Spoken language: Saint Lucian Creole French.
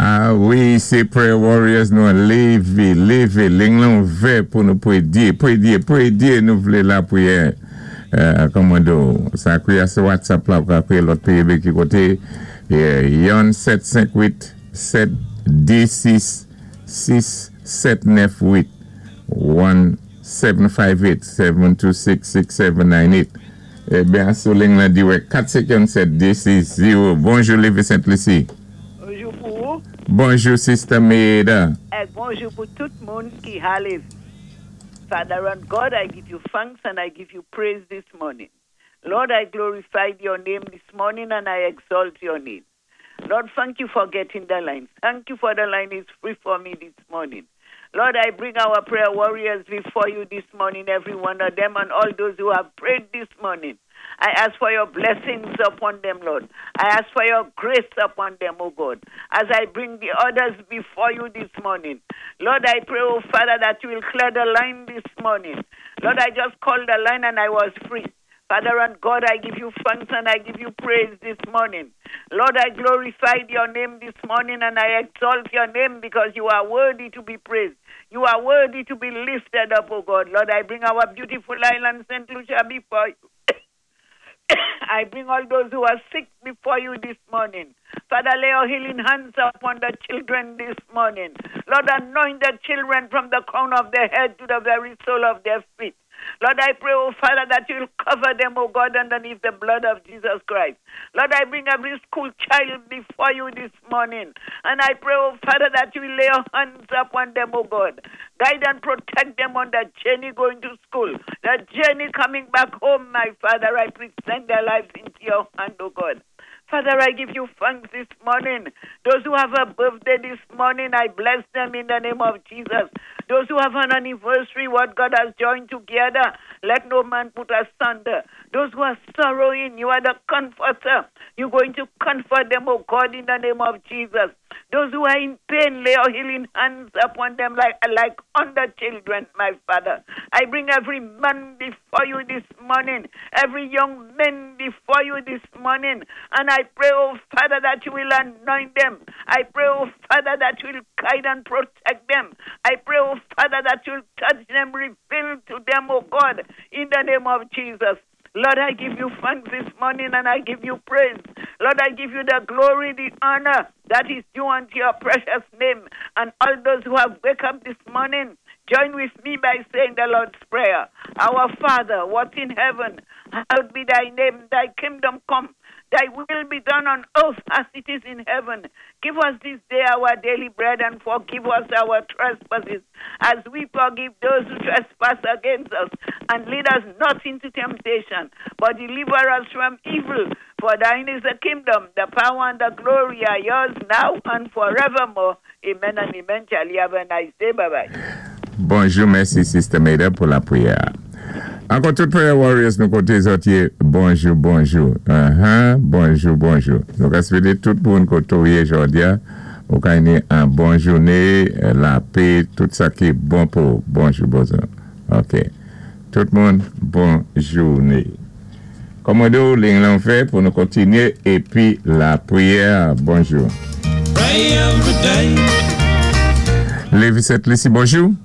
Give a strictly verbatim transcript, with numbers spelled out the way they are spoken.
Ah wi, sé Prayer Warriors nou lévé, lévé, liy lan ouvè pou nou pwédyé, pwédyé, pwédyé, nou vlé lapriyè. Euh, kòmando, sa kwiyé sou WhatsApp la, pou kwiyé lòt péyi ki koté, yon sèt senk uit sèt dé sis sis sèt nèf uit, en sept cinq huit sept deux six six sept neuf huit. Ebyen, sou liy lan dirèk, kat senk en sèt dé sis zewo. Bonjou, Lévis Sainte-Lucie. Bonjou pou ou. Bonjou, Sister Maida. É bonjou pou tout moun ki a Lévis. Father and God, I give you thanks and I give you praise this morning. Lord, I glorify your name this morning and I exalt your name. Lord, thank you for getting the line. Thank you for the line is free for me this morning. Lord, I bring our prayer warriors before you this morning, every one of them and all those who have prayed this morning. I ask for your blessings upon them, Lord. I ask for your grace upon them, O God, as I bring the others before you this morning. Lord, I pray, oh Father, that you will clear the line this morning. Lord, I just called the line and I was free. Father and God, I give you thanks and I give you praise this morning. Lord, I glorify your name this morning and I exalt your name because you are worthy to be praised. You are worthy to be lifted up, O God. Lord, I bring our beautiful island, Saint Lucia, before you. I bring all those who are sick before you this morning. Father, lay your healing hands upon the children this morning. Lord, anoint the children from the crown of their head to the very sole of their feet. Lord, I pray, oh Father, that you will cover them, oh God, underneath the blood of Jesus Christ. Lord, I bring every school child before you this morning. And I pray, oh Father, that you will lay your hands upon them, oh God. Guide and protect them on the journey going to school, the journey coming back home, my Father. I present their lives into your hand, oh God. Father, I give you thanks this morning. Those who have a birthday this morning, I bless them in the name of Jesus. Those who have an anniversary, what God has joined together, let no man put asunder. Those who are sorrowing, you are the comforter. You're going to comfort them, oh God, in the name of Jesus. Those who are in pain, lay your healing hands upon them like, like on the children, my Father. I bring every man before you this morning, every young man before you this morning. And I pray, oh Father, that you will anoint them. I pray, oh Father, that you will guide and protect them. I pray, oh Father, that you will touch them, reveal to them, oh God, in the name of Jesus. Lord, I give you thanks this morning and I give you praise. Lord, I give you the glory, the honor that is due unto your precious name. And all those who have wake up this morning, join with me by saying the Lord's Prayer. Our Father, what in heaven, hallowed be thy name, thy kingdom come. Thy will be done on earth as it is in heaven. Give us this day our daily bread and forgive us our trespasses as we forgive those who trespass against us. And lead us not into temptation, but deliver us from evil. For thine is the kingdom, the power, and the glory are yours now and forevermore. Amen and amen. Charlie, have a nice day. Bye bye. Bonjou, mèsi Sister Maida pou lapriyè. Ankò tout prayer warriors nou koté zòt yé, bonjou, bonjou. Uh-huh, bonjou, bonjou. Nou ka swété tout moun koté ou yé jòdi a, ou ka ni an bon jouné, lapè, tout sa ki bon pou. Bonjou, bonjou. Ok. Tout moun, bon jouné. Kòmando, liy lan ouvè pou nou kontinyé, épi lapriyè, bonjou. Pray every day. Lévis Sainte-Lucie, bonjou.